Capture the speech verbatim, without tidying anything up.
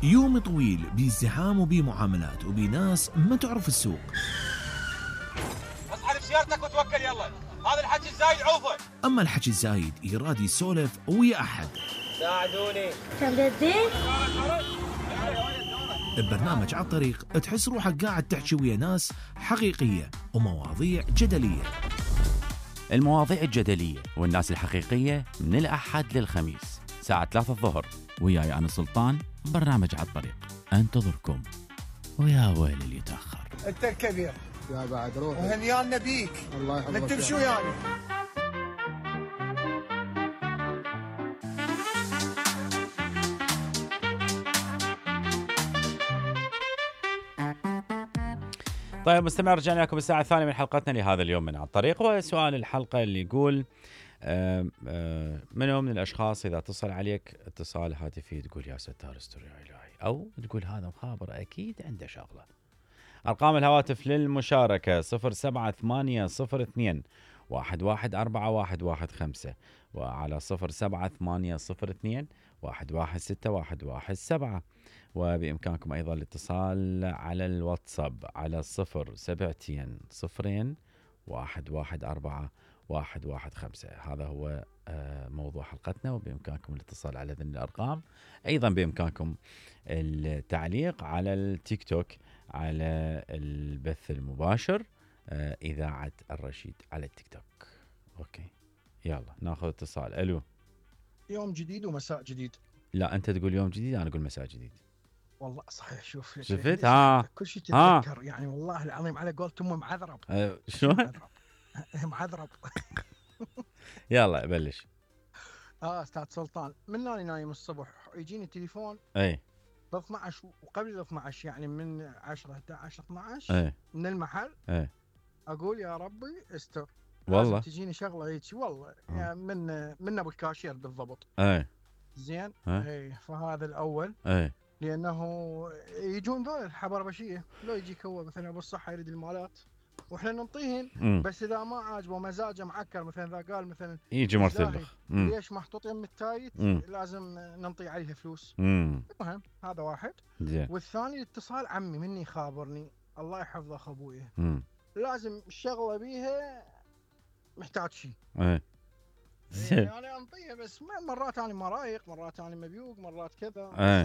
يوم طويل بازدحام وبمعاملات وبناس ما تعرف السوق. اصحى بسيارتك وتوكل يلا، هذا الحكي الزايد عوفه. اما الحكي الزايد يراد يسولف ويا احد. ساعدوني. كم بدي؟ ببرنامج على الطريق تحس روحك قاعد تحكي ويا ناس حقيقية ومواضيع جدلية. المواضيع الجدلية والناس الحقيقية من الأحد للخميس ساعة ثلاثة الظهر، وياي أنا سلطان. برنامج على الطريق انتظركم، ويا ويل اللي يتأخر. انت الكبير يا بعد روح وهنيان نبيك. الله يحفظك. نكتب شو يعني؟ طيب مستمع، رجعنا لكم الساعة الثانية من حلقتنا لهذا اليوم من على الطريق. وسؤال الحلقة اللي يقول آه آه منو من الأشخاص إذا اتصل عليك اتصال هاتفي تقول يا ستار استر يا إلهي، أو تقول هذا مخابر أكيد عنده شغلة. أرقام الهواتف للمشاركة صفر سبعة ثمانية صفر اثنين واحد واحد أربعة واحد واحد خمسة، وعلى صفر سبعة ثمانية صفر اثنين واحد واحد ستة واحد واحد سبعة. وبإمكانكم أيضا الاتصال على الواتساب على صفر سبعتين صفرين واحد واحد أربعة واحد واحد خمسة. هذا هو موضوع حلقتنا، وبإمكانكم الاتصال على ذن الأرقام. أيضا بإمكانكم التعليق على التيك توك على البث المباشر إذاعة الرشيد على التيك توك. أوكي يلا ناخذ اتصال. ألو. يوم جديد ومساء جديد. لا أنت تقول يوم جديد، أنا أقول مساء جديد. والله صحيح. شوف شفت ها كل شيء تتذكر يعني، والله العظيم على قولت أمي معذرب. أه شلون معذرب. يلا بلش. اه استاذ سلطان، من اني نايم الصبح يجيني تليفون اي ب اثنا عشر وقبل ال اثنا عشر يعني من عشرة احد عشر اثنا عشر اي من المحل. اي اقول يا ربي استر، والله تجيني شغله هيك والله يعني من من ابو الكاشير بالضبط. اي زين. اي فهذا الاول. اي لانه يجون ذول الحبربشيه، لو يجيك هو مثلا ابو الصحه يريد المالات واحنا ننطيهن، بس اذا ما عاجبه مزاجه معكر مثلا اذا قال مثلا يجي مرتلخ ليش محطوط يم التايت لازم ننطي عليها فلوس. مم. المهم هذا واحد. زين. والثاني الاتصال عمي مني خابرني الله يحفظه اخ ابويا، لازم الشغله بيها محتاج شيء. ايه يعني انا انطيها بس مرات انا ما رايق، مرات انا مبيوق، مرات كذا. ايه